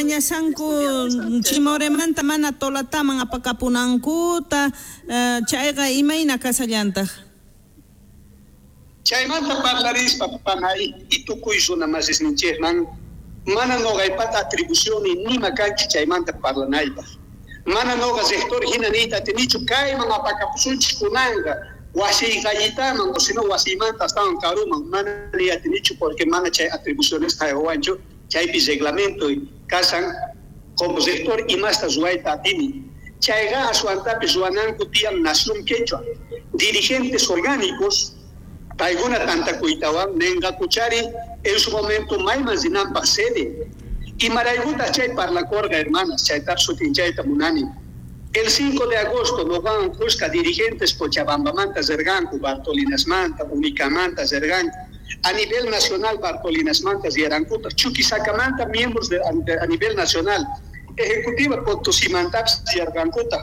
Mañashanku Chimoremanta mana Tolataman apakapunankuta, chayqa imayna kashallantaj? Chaymanta parlarispa panay y tukuy runa masisninchejman mana noqaypata atribucionni nima kanchu chaymanta parlanaypaj. Mana noqa rector hina niyta atinichu kayman apakapusunchis kunanqa wasiy gallitaman o sino wasiymanta astawan karuman, mana niy atinichu porque mana chay atribucionesta haywawanchu, chaypi reglamento kasan como rector imasta ruwayta atini. Chayqa aswantapis ruwananku tiyan Nación Quechua, dirigentes orgánicos paykuna tantakuytawan nenqakuchari en su momento mayman rinanpaj sede. Imaraykutaj chay parlakorqa, hermanas, chaytapis sutinchayta munani. El 5 de agosto noqawan khuska dirigentes Cochabambamanta rirqanku, Bartolinasmanta, Unicamanta rirqanku. A nivel nacional Bartolinasmanta riyarankutaj, Chuquisacamanta miembros a nivel nacional, ejecutiva Potosimantapis riyarqankutaj.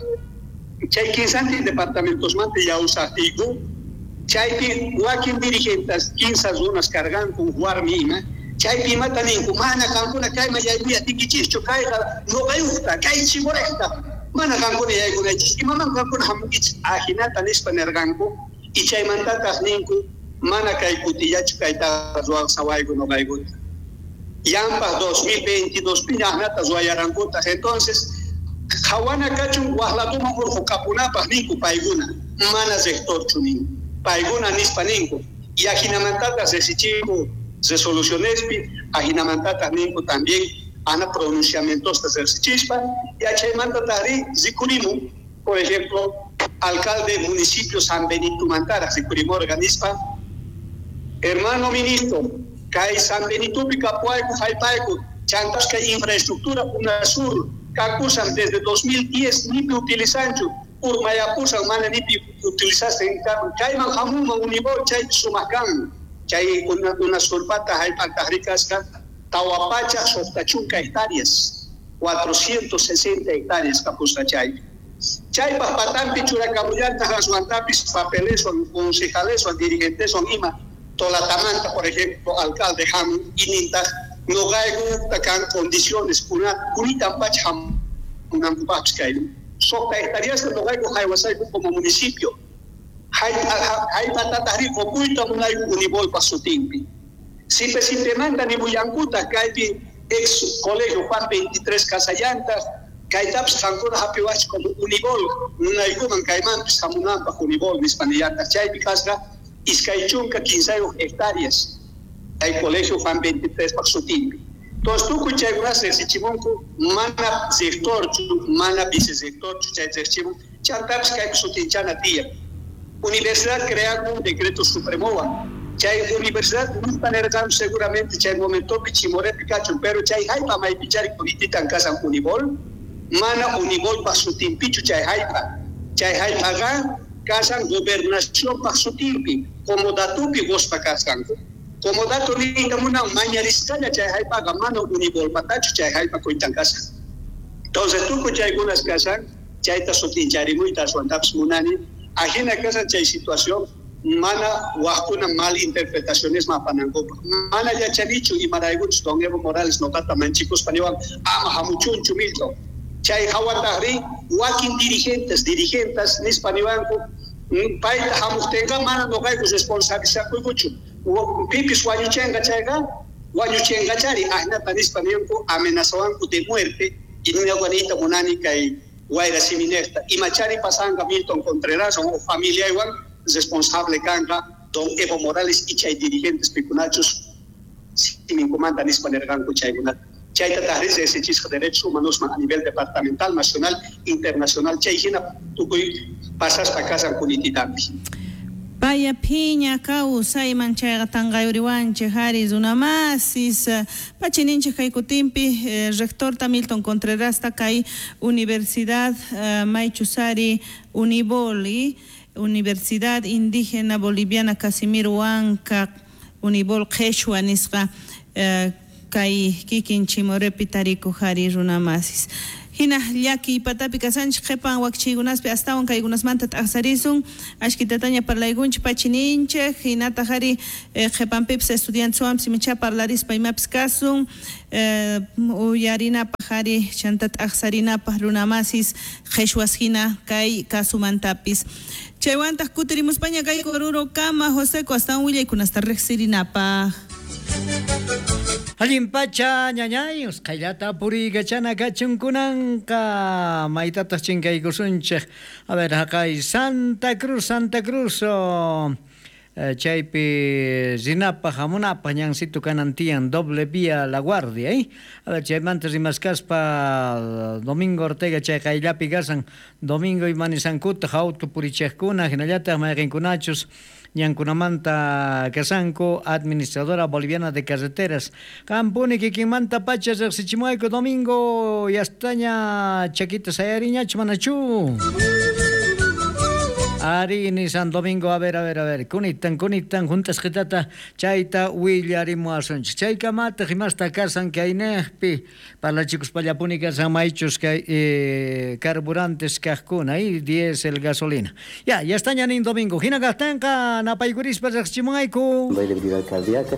Chay kinsantin departamentosmanta yawsajtiyku, chaypi wakin dirigentes kinsa runas karqanku warmi ima, chaypi imata ninku, mana qankuna kayman yaykuy atiykichischu, kayqa noqayuqta, kay Chimorejta, mana qankuna yaykunaychis, imaman qankuna hamunkichis, ajinata nispa nerqanku, y chaymantataq ninku, mana kay kutillachu kaytaqa ruwasawayku noqaykuta. Yampaj 2022 pi ajnata ruwayarankutaj, entonces qhawana kachun waj laduman urqhukapunapaj ninku paykuna, mana rectorchu ninku, paykuna nispa ninku, y ajinamantataq resichinku resolucionespi, ajinamantataq ninku también ana pronunciamientosta resichispa, y achaymantataqri rikurimun, por ejemplo, alcalde municipio San Benito Mantara rikurimorqa nispa, hermano ministro, kay San Benitopi kapuayku jallp'ayku, chantas kay infraestructura UNASUR kakusan desde 2010 nipi utilizanchu, urmayapusan mana nipi utilizastin kayman hamunman Unibol chay sumaq kan, chay UNASURpata jallp'ataqri kasqa 460 hectáreas, 460 hectáreas kapusqa chaypi. Chaypaj patampi churakamullantaq aswantapis papeleswan, concejaleswan, dirigenteswan ima, Tolatamanta, por ejemplo, alcalde hamun y nintaq noqaykuta kan condiciones kunitan pacha hamunankupaqpis kayman. 6 hectáreasta noqayku haywasayku como municipio. Jallp'atataqri qupuyta munayku Unibolpa sutinpi. Sipe sipemanta nimullankutaq kaypi ex colegio Juan 23 Casallantaq, kaytapis qankuna hapiwachis como Unibol, munaykuman kaymanpis hamunanpaq Unibol nispa nillantaq. Chaypi kasqa 23 hectáreas kay colegio Juan 23 paq sutinpi. Entonces tukuy chaykunas riqsichimunku, mana rectorchu, mana vicerrectorchu chay riqsichimun, chantapis kaypi sutinchana tiyan. Universidad crean un decreto supremowan. Chay universidad nispa nerqan seguramente chay momentopi Chimorepi kachun, pero chay jallp'a maypichari kunititan kasan Unibol, mana Unibolpaq sutinpichu chay jallp'a. Chay jallp'aqa kasan gobernacionpaq sutinpi, comodatupi quspa kasqanku. Comodato niyta munan mañarisqalla chay jallp'aqa mana Unibolpatachu chay jallp'a kuytan kasan. Entonces tukuy chaykunas kasan, chayta sutincharimuyta aswantapis munani, ajina kasan chay situación, mana wajkuna mal interpretaciones mapanankupaq. Mana yachanichu imaraykuchus don Evo Morales noqata manchikuspa niwan ama hamuchunchu Milton. Chay hawataqri wakin dirigentes, dirigentas nispa niwanku, payta hamuqtinqa mana noqayku responsabilizakuykuchu. Pipis wañuchenqa chayqa, wañuchenqachari ajnata nispa ninku amenazawanku de muerte y ñuqa niyta munani kay wayra siminejta. Imachari pasanqa Milton Contreras o familiaywan responsable kanqa don Evo Morales y chay dirigentes pikunachus siminkumanta nispa nerqanku chaykunata. Chayta taqri riqsichisqa derechos humanosman a nivel departamental, nacional, internacional, chay hina tukuy pasaspa kasan kunititampi. Paya phiña kawsayman chayqa tanqayuriwanchej ari runamasis pachininchej kay kutinpi rectorta Milton Contrerasta kay Universidad Maychusari Uniboli, Universidad Indígena Boliviana Casimiro Huanca Unibol Qheshwa nisqa kay kikin Chimorepi tarikuq ari runamasis. Hina llakiy patapi kasanchik qhipan wakchiykunaspi astawan kaykunasmanta t'aqsarisun ashkitataña parlaykunchik pachininchik hinataq ari qhipanpipis estudianteswanpis imacha parlarispa imapis kasun uyarinapaq ari chanta t'aqsarinapaq runamasis qhichwas hina kay kasumantapis. Chaywantaq kutirimuspaña kayku Oruro kama Joseco astawan willaykunasta riqsirinapaq. Allin pacha ñañay usqhayllata puriykachana kachunkunanqa maytataq chinkaykusunchik. A ver, haqay Santa Cruz, Santa Cruz chaypi rinapaq hamunapaq ñansito kanan tiyan doble vía La Guardia, A ver, chaymanta rimaskaspa Domingo Ortega chay qayllapi kasan Domingo imanisankutaq auto purichiqkuna hinallataq mayqinkunachus ñankunamanta kasanku administradora boliviana de carreteras. Qampuni kikinmanta pacha riqsichimuwayku Domingo yastaña chakita sayariñachu manachu. Ari ni San Domingo, a ver, a ver, a ver, kunitan, kunitan, juntasqitata chayta willarimuwasunchik. Chaykamataq imasta kasan kaynejpi parlachikuspallapuni kasan maychus kay carburantes kaqkuna y diésel, gasolina. Ya, ya está ñanin Domingo. Hina kaqtinqa napaykurispa riqsichimuwayku. Cardíaca.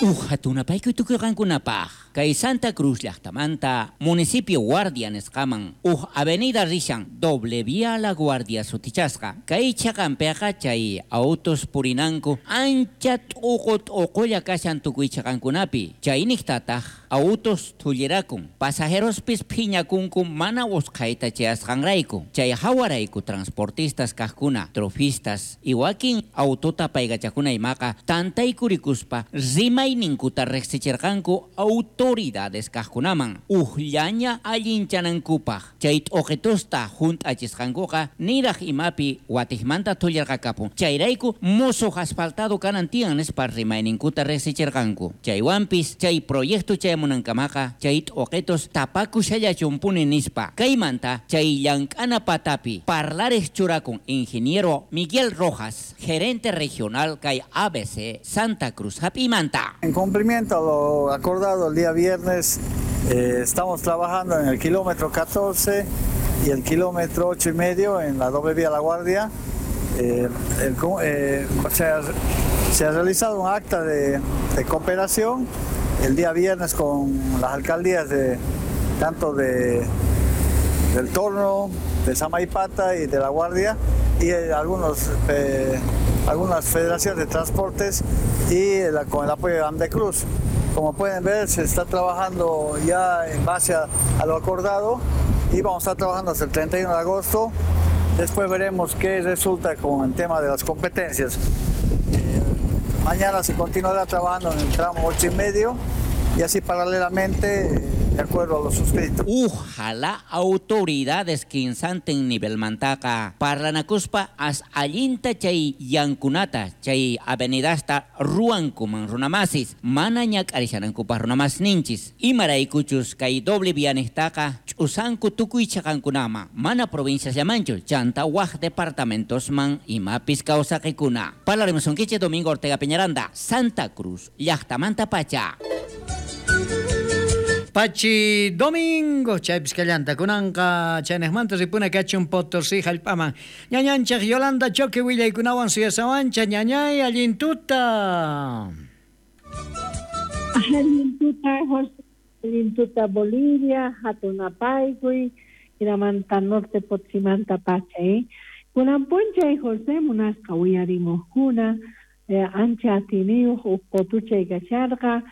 Uj hatunapaykuy tukuyqankunapaq kay Santa Cruz llaqtamanta municipio Guardia nisqaman uj avenida rishan doble vía La Guardia sutichasqa kay chaqanpiqa chay autos purinanku ancha t'uqu t'uqulla kashan tukuy chaqankunapi chayniqtataq autos thullirakun pasajerospis phiñakunku mana usqhayta chayasqanrayku chay hawarayku transportistas kaqkuna trofistas y wakin autota paykachakuna imaqa tantaykurikuspa rimayninkuta riqsichirqanku autoridades kaqkunaman ujllaña allinchanankupaq chay t'uqitusta hunt'achisqankuqa niraq imapi watiqmanta thullirqakapun chayrayku musuq asfaltado kanan tiyan nispa rimayninkuta riqsichirqanku chaywanpis chay proyecto chayamunankamaqa chay t'uqitus tapakushallachunpuni nispa kaymanta chay llank'ana patapi parlarej churakun ingeniero Miguel Rojas, gerente regional kay ABC Santa Cruz hap'imanta. En cumplimiento a lo acordado el día viernes, estamos trabajando en el kilómetro 14 y el kilómetro 8,5 en la doble vía La Guardia. Se ha realizado un acta de cooperación el día viernes con las alcaldías de tanto del Torno, de Samaipata y de La Guardia y algunas federaciones de transportes y con el apoyo de Andecruz. Como pueden ver, se está trabajando ya en base a lo acordado y vamos a estar trabajando hasta el 31 de agosto. Después veremos qué resulta con el tema de las competencias. Mañana se continuará trabajando en el tramo 8,5 y así paralelamente, de acuerdo a lo suscrito. Ojalá autoridades kinsantin nivel mantaqa parlanakuspa as allinta chay yankunata chay avenidasta ruwankuman runamasis mana ñak'arishanankupaq runamas ninchis imaraykuchus kay doble vianestaqa ch'usanku tukuy chaqankunama mana provincias llamanchu chanta waj departamentosman imapis kawsaqikuna. Parlarimusunkichik Domingo Ortega Peñaranda, Santa Cruz, llaqtamanta pacha. Pachi Domingo, chaypis kallanta kunanqa chaynejmanta ripuna kachun Potosí hallp'aman. Ñañanchaq Yolanda Choque willaykunawan suyasawancha ñañay allin tuta. Allin tuta, José, allin tuta Bolivia, hatunapaykuy, hinamanta norte Potosímanta pacha, Kunan p'unchay José munasqa uyarimuqkuna, ancha atiniyuq uq qotuchay kasharqa.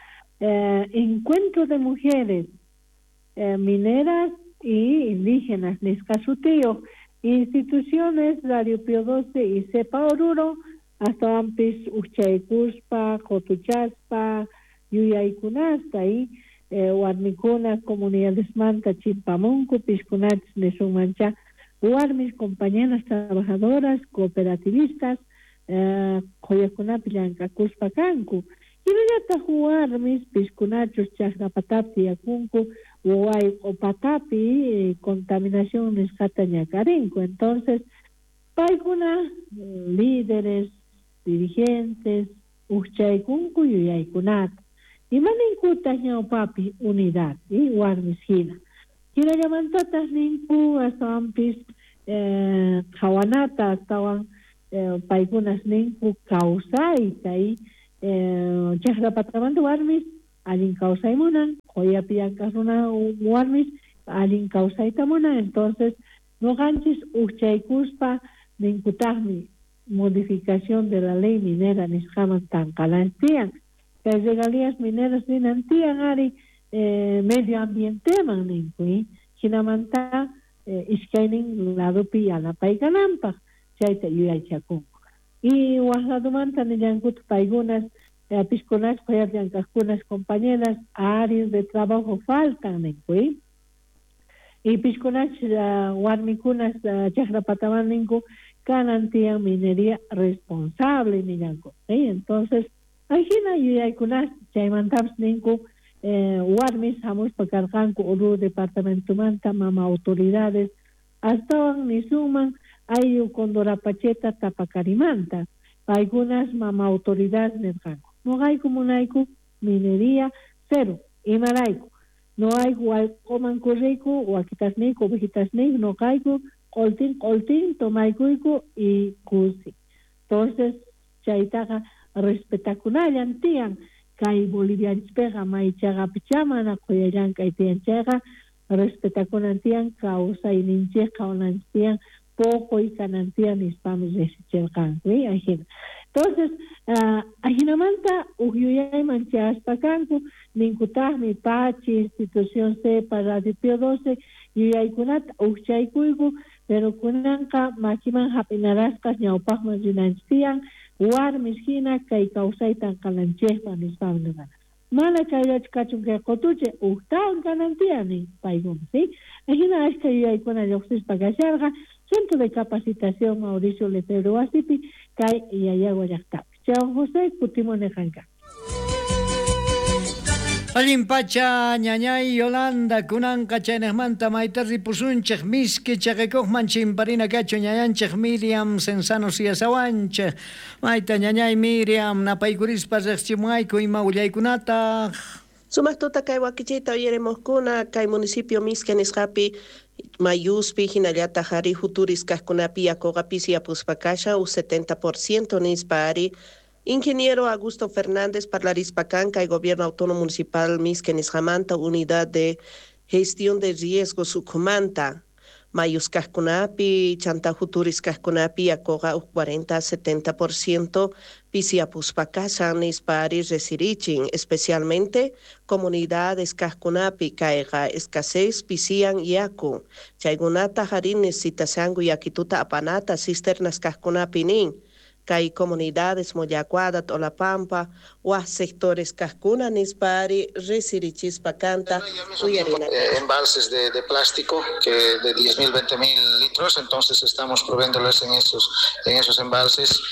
Encuentro de mujeres mineras y indígenas nisqa sutiyuq instituciones Radio Pío 12 y Cepa Oruro astawanpis ujchaykuspa qotuchaspa yuyaykunasta y warmikuna comunidadesmanta chimpamunku piskunachis nisunmancha warmis compañeras trabajadoras cooperativistas qhuyakunapi llank'akuspa kanku. Hinallataq warmis piskunachus chaqrapatapi tiyakunku wayq'upatapi contaminación nisqata ñak'arinku. Entonces paykuna líderes, dirigentes ujchaykunku yuyaykunata. Imaninkutaq ñawpapi unidad warmis hina. Hinallamantataq ninku astawanpis qhawanata astawan paykunas ninku kawsayta chaqra patamanta warmis allin kawsay munan, qoyapi llank'aq runa warmis allin kawsayta munan. Entonces noqanchis ujchaykuspa ninkutaqmi modificación de la ley minera nisqaman tanqananchis tiyan. Kay regalías mineras ninan tiyan ari medio ambienteman ninku, hinamanta iskaynin ladopi yanapaykananpaq chayta yuyaychakunku. Y waj ladomanta nillankuta paykunas piskunas qoyapi llank'aqkunas compañeras áreas de trabajo faltan ninku. Y piskunas warmikunas chaqra pataman ninku kanan tiyan minería responsable nillanku. Entonces ajina yuyaykunas chaymantapis ninku warmis hamuspa karqanku Oruro departamentomanta mama autoridades astawan nisunman ayllu Condorapacheta Tapacarimanta paykunas mama autoridad nirqanku noqayku munayku minería cero imarayku noqayku wayq'uman kurriyku wakitasniyku ovejitasniyku noqayku q'ultin q'ultin tomaykuyku y kusi. Entonces chaytaqa respetakunallan tiyan kay Bolivianchispiqa maychaqapichá mana quya llank'ay tiyan chayqa respetakunan tiyan kawsayninchikqa qhawananchik tiyan poqoy kanan tiyan nispami riqsichirqanku ajina. Entonces ajinamanta uj yuyayman chayaspa kanku ninkutaqmi Pachi institución CEPA Radio Pío 12 yuyaykunata ujchaykuyku pero kunanqa makiman hap'inarasqas ñawpaqman rinanchik tiyan warmis hina kay kawsayta qananchikpaq nispami nirqani. Mana kayllachu kachun kay qutuchay ujtawan kanan tiyan nin paykuna, ¿sí? Ajina ashka yuyaykuna lluqsispa kasharqa Centro de Capacitación Mauricio Lefebvre wasipi kay Llallagua llaqtapi. Chaywan José kutimuni qanka. Allin pacha ñañay Yolanda kunanqa chaynejmanta mayta ripusunchej miski chaqikuqman chimparina kachu ñañanchej Miriam Cenzano siyasawanchej mayta ñañay Miriam napaykurispa riqchimuayku ima willaykunataq. Sumaq tuta kay wakichiyta uyarimuqkuna kay municipio Mizque nisqapi mayuspi hinallataq ari huturis kaqkunapi yakuqa pisiyapuspa kashan 70% nispa ari Ingeniero Augusto Fernández parlarispa kan kay Gobierno Autónomo Municipal Mizque nisqamanta Unidad de Gestión de Riesgos ukhumanta mayus kaqkunapi chanta huturis kaqkunapi yakuqa 40-70% pisiyapuspa kashan nispa ari resirichin especialmente comunidades kaqkunapi kayqa escasez pisiyan yaku chaykunata ari necesitashanku yakituta apanata cisternas kaqkunapi nin kay comunidades Mollacuada, Tolapampa, waj sectores kaqkuna nispa ari resirichispa kanta uyarina. Embalses de plástico que de 10.000, 20.000 litros, entonces estamos proveyéndoles en esos embalses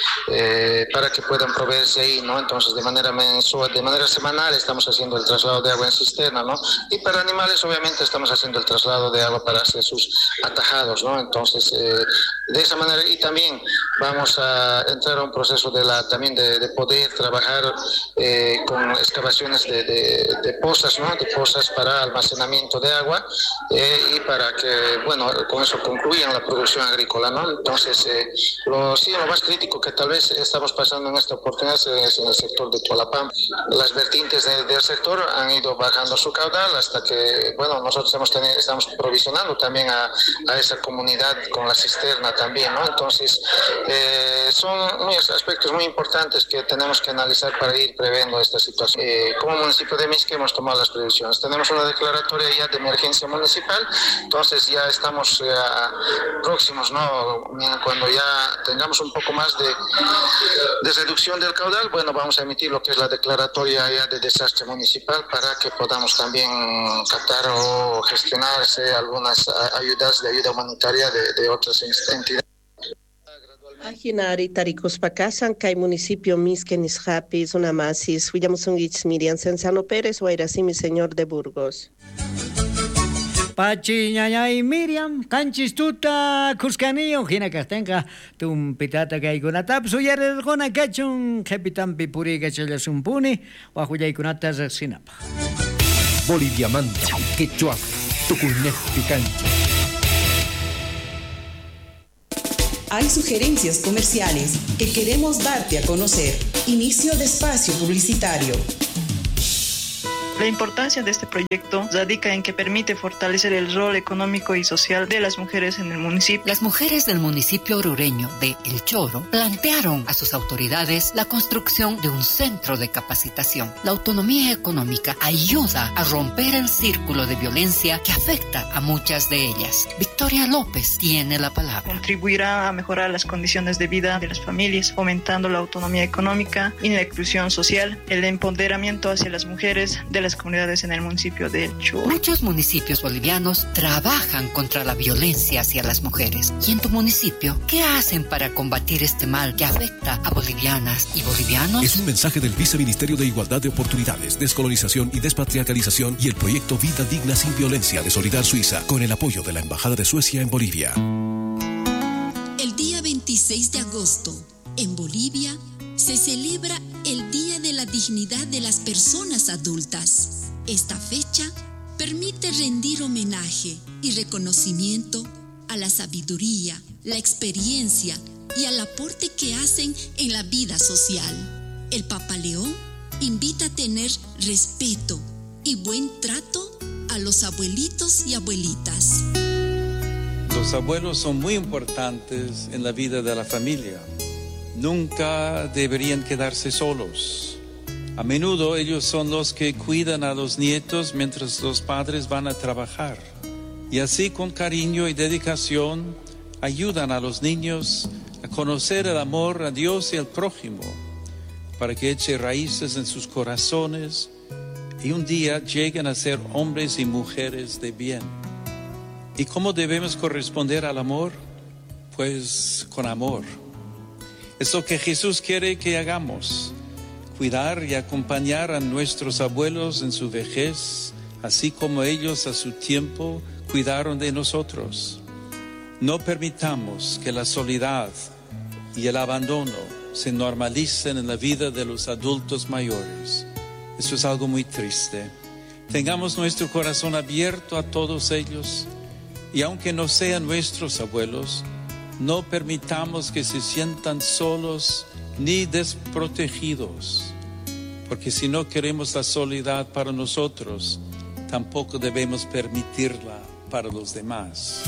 para que puedan proveerse ahí, ¿no? Entonces de manera mensual, de manera semanal estamos haciendo el traslado de agua en cisterna, ¿no? Y para animales obviamente estamos haciendo el traslado de agua para hacer sus atajados, ¿no? Entonces de esa manera, y también vamos a entrar a un proceso de la también de poder trabajar con excavaciones de pozas, ¿no? De pozas para almacenamiento de agua y para que, bueno, con eso concluyan la producción agrícola, ¿no? Entonces, lo más crítico que tal vez estamos pasando en esta oportunidad es en el sector de Tolapam. Las vertientes del sector han ido bajando su caudal hasta que, bueno, nosotros estamos provisionando también a esa comunidad con la cisterna también, ¿no? Entonces, son aspectos muy importantes que tenemos que analizar para ir previendo esta situación. Como municipio de Mizque hemos tomado las previsiones. Tenemos una declaratoria ya de emergencia municipal, entonces ya estamos próximos, ¿no? Cuando ya tengamos un poco más de reducción del caudal, bueno, vamos a emitir lo que es la declaratoria ya de desastre municipal para que podamos también captar o gestionarse algunas ayudas de ayuda humanitaria de otras entidades. Ajinari tarikuspa kashan kay municipio Mizque nisqapi runamasis willamusunkichis Miriam Cenzano Pérez, Wayrasimi señor de Burgos. Pachi ñañay Miriam, qanchis tuta Cuscanillo, hina kaqtinqa tumpitata kaykunatapis uyarirquna kachun qhipitanpi puriykachallasumpuni wak willaykunata riqsinapaq. Boliviamanta, quechua, tukuynejpi kanchik. Hay sugerencias comerciales que queremos darte a conocer. Inicio de espacio publicitario. La importancia de este proyecto radica en que permite fortalecer el rol económico y social de las mujeres en el municipio. Las mujeres del municipio orureño de El Choro plantearon a sus autoridades la construcción de un centro de capacitación. La autonomía económica ayuda a romper el círculo de violencia que afecta a muchas de ellas. Victoria López tiene la palabra. Contribuirá a mejorar las condiciones de vida de las familias, fomentando la autonomía económica y la inclusión social, el empoderamiento hacia las mujeres de las comunidades en el municipio de El Choro. Muchos municipios bolivianos trabajan contra la violencia hacia las mujeres. ¿Y en tu municipio qué hacen para combatir este mal que afecta a bolivianas y bolivianos? Es un mensaje del Viceministerio de Igualdad de Oportunidades, Descolonización y Despatriarcalización y el proyecto Vida Digna Sin Violencia de Solidar Suiza, con el apoyo de la Embajada de Suecia en Bolivia. El día 26 de agosto, en Bolivia, se celebra el Día de la Dignidad de las Personas Adultas. Esta fecha permite rendir homenaje y reconocimiento a la sabiduría, la experiencia y al aporte que hacen en la vida social. El Papa León invita a tener respeto y buen trato a los abuelitos y abuelitas. Los abuelos son muy importantes en la vida de la familia. Nunca deberían quedarse solos. A menudo ellos son los que cuidan a los nietos mientras los padres van a trabajar. Y así con cariño y dedicación ayudan a los niños a conocer el amor a Dios y al prójimo, para que eche raíces en sus corazones y un día lleguen a ser hombres y mujeres de bien. ¿Y cómo debemos corresponder al amor? Pues con amor. Es lo que Jesús quiere que hagamos, cuidar y acompañar a nuestros abuelos en su vejez, así como ellos a su tiempo cuidaron de nosotros. No permitamos que la soledad y el abandono se normalicen en la vida de los adultos mayores. Eso es algo muy triste. Tengamos nuestro corazón abierto a todos ellos y aunque no sean nuestros abuelos, no permitamos que se sientan solos ni desprotegidos, porque si no queremos la soledad para nosotros, tampoco debemos permitirla para los demás.